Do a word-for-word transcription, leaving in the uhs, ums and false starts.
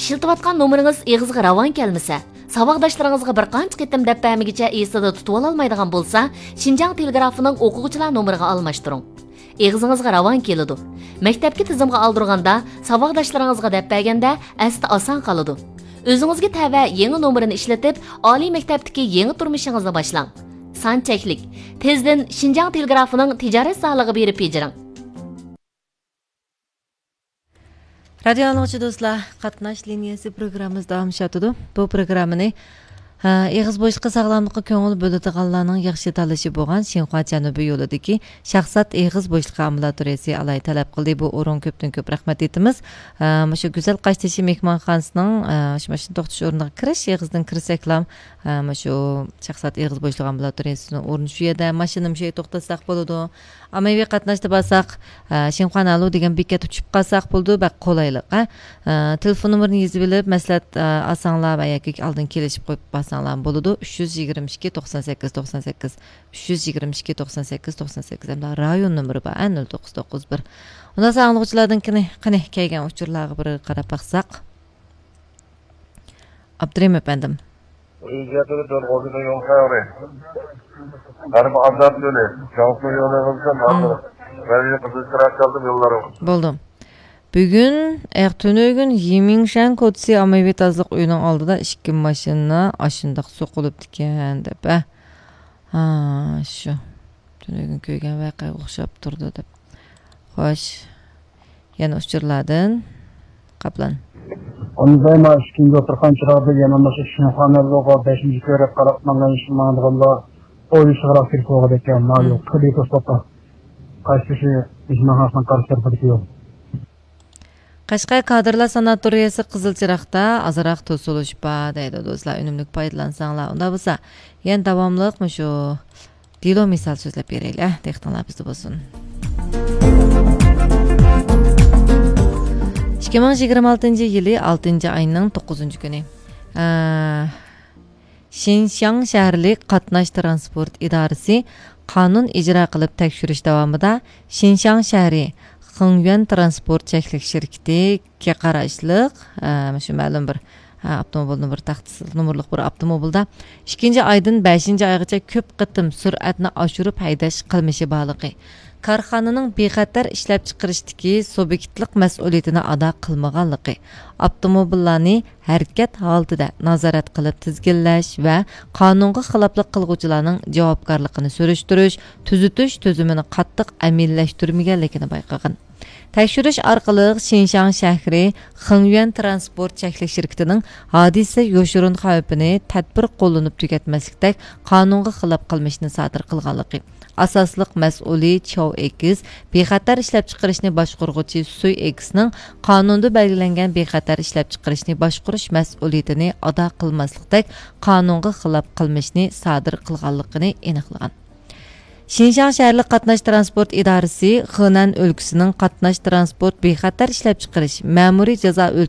ئىشلىتىۋاتقان نومۇرىڭىز ئېغىزغا راۋان كەلمىسە، ساۋاقداشلىرىڭىزغا بىر قانچە قېتىم دەپ بەرمىگىچە ئېسىدە تۇتۇۋالالمايدىغان بولسا، شىنجاڭ تېلېگرافىنىڭ ئوقۇغۇچىلار نومۇرىغا ئالماشتۇرۇڭ. ئېغىزىڭىزغا راۋان كېلىدۇ. مەكتەپكە تىزىمغا ئالدۇرغاندا، ساۋاقداشلىرىڭىزغا دەپ بەرگەندە ئەستە ئاسان قالىدۇ. ئۆزىڭىزگە تەۋە يېڭى نومۇرىنى ئىشلىتىپ، ئالىي مەكتەپتىكى يېڭى تۇرمۇشىڭىزنى باشلاڭ. سان چەكلىك. تېزدىن شىنجاڭ تېلېگرافىنىڭ تىجارەت زالىغا بېرىپ بېجىرىڭ. رادىيو ئاڭلىغۇچى دوستلار، قاتناش لىنىيەسى پروگراممىمىز داۋاملىشىۋاتىدۇ. بۇ پروگراممىنى، ھە، ئېغىز بوشلۇقى ساغلاملىققا كۆڭۈل بۆلىدىغانلارنىڭ ياخشى تاللىشى بولغان شىنخۇا جەنۇبىي يولىدىكى شاھزات ئېغىز بوشلۇقى ئامبۇلاتورىيەسى ئالاھىدە تەلەپ قىلدى. بۇ ئورۇن كۆپتىن كۆپ رەھمەت ئېيتىمىز. ھە، مۇشۇ گۈزەل قاشتېشى مېھمانخانىسىنىڭ، ھە، شۇ ماشىنا توختىتىش ئورنىغا كىرىش ئېغىزىدىن كىرسەكلا، ھە، مۇشۇ شاھزات ئېغىز بوشلۇقى ئامبۇلاتورىيەسىنىڭ ئورنى شۇ يەردە. ماشىنىمۇ شۇ يەردە توختاتساق بولىدۇ. ئاممىۋى قاتناشتا بارساق، ئە، شىنخۇا نالۇ دېگەن بېكەتتە چۈشۈپ قالساق بولىدۇ، بەك قولايلىق، ئە. ئە، تېلېفون نومۇرىنى يېزىۋېلىپ، مەسلىھەت، ئە، ئالساڭلار ۋە ياكى ئالدىن كېلىشىپ قويۇپ بارساڭلار بولىدۇ. ئۈچ يۈز يىگىرمە ئىككى، توقسان سەككىز، توقسان سەككىز، ئۈچ يۈز يىگىرمە ئىككى، توقسان سەككىز، توقسان سەككىز، ھەمدە رايون نومۇرى بار، ئە، نۆل توققۇز توققۇز بىر. ئۇنداق ئاڭلىغۇچىلاردىن قېنى، قېنى كەلگەن ئۇچۇرلارغا بىر قاراپ باقساق. ئابدۇرېھىم ئەپەندىم. بولدى. بۈگۈن، ئە، تۈنۈگۈن يىمىڭشەن كوچىسى ئاممىۋى تازىلىق ئۆيىنىڭ ئالدىدا ئىككى ماشىنا ئاشۇنداق سوقۇلۇپتىكەن دەپ، ئە. ھا، شۇ. تۈنۈگۈن كۆرگەن ۋەقەگە ئوخشاپ تۇرىدۇ دەپ. خوش. يەنە ئۇچۇرلاردىن. قاپلان. ئۇندا ما ئىككىنچى ئوتتۇرا قانچىلاردا يەنە مۇشۇ شىنخۇا نالۇغا بەشىنچى كۆرۈپ قاراپ ماڭغان، ماڭىدىغانلار ئويلىشىغىراق كىرىپ بولغان ئىكەن. مانا، مم. قىلىپ توسۇپ، قايسى مېھمانخانىسىنىڭ قارشى تەرىپىدىكى يول. قەشقەر كادىرلار ساناتورىيەسى قىزىل چىراغدا ئازراق توسۇلۇش بار دەيدۇ دوستلار، ئۈنۈملۈك پايدىلانساڭلار. ئۇنداق بولسا، يەنە داۋاملىق مۇشۇ دېلو مىسال سۆزلەپ بېرەيلى، ئە، دىققىتىڭلار بىزدە بولسۇن. ئىككى مىڭ يىگىرمە ئالتىنچى يىلى ئالتىنچى ئاينىڭ توققۇزىنچى كۈنى. ئە، شىنشياڭ شەھەرلىك قاتناش ترانسپورت ئىدارىسى قانۇن ئىجرا قىلىپ تەكشۈرۈش داۋامىدا شىنشياڭ شەھىرى خېڭيۈەن ترانسپورت چەكلىك شىركىتىگە قاراشلىق، ئە، شۇ مەلۇم بىر، ئە، ئاپتوموبىلنىڭ بىر تاختىسى، نومۇرلۇق بىر ئاپتوموبىلدا ئىككىنچى ئايدىن بەشىنچى ئايغىچە كۆپ قېتىم سۈرئەتنى ئاشۇرۇپ ھەيدەش قىلمىشى بارلىقى، كارخانىنىڭ بىخەتەر ئىشلەپچىقىرىشتىكى سۇبيېكتلىق مەسئۇلىيىتىنى ئادا قىلمىغانلىقى، ئاپتوموبىللارنى ھەرىكەت ھالىتىدە نازارەت قىلىپ تىزگىنلەش ۋە قانۇنغا خىلاپلىق قىلغۇچىلارنىڭ جاۋابكارلىقىنى سۈرۈشتۈرۈش، تۈزىتىش تۈزۈمىنى قاتتىق ئەمەلىيلەشتۈرمىگەنلىكىنى بايقىغان. تەكشۈرۈش ئارقىلىق شىنشاڭ شەھىرى خېڭيۈەن ترانسپورت چەكلىك شىركىتىنىڭ ھادىسە يوشۇرۇن خەۋپىنى تەدبىر قوللىنىپ تۈگەتمەسلىكتەك قانۇنغا خىلاپ قىلمىشنى سادىر قىلغانلىقى، ئاساسلىق مەسئۇلى چاۋ ئېكس بىخەتەر ئىشلەپچىقىرىشنى باشقۇرغۇچى سۈي ئېكسنىڭ قانۇندا بەلگىلەنگەن بىخەتەر ئىشلەپچىقىرىشنى باشقۇرۇش مەسئۇلىيىتىنى ئادا قىلماسلىقتەك قانۇنغا خىلاپ قىلمىشنى سادىر قىلغانلىقىنى ئېنىقلىغان. شىنشاڭ شەھەرلىك قاتناش ترانسپورت ئىدارىسى خېنەن ئۆلكىسىنىڭ قاتناش ترانسپورت بىخەتەر ئىشلەپچىقىرىش مەمۇرىي جازا ئۆلچەم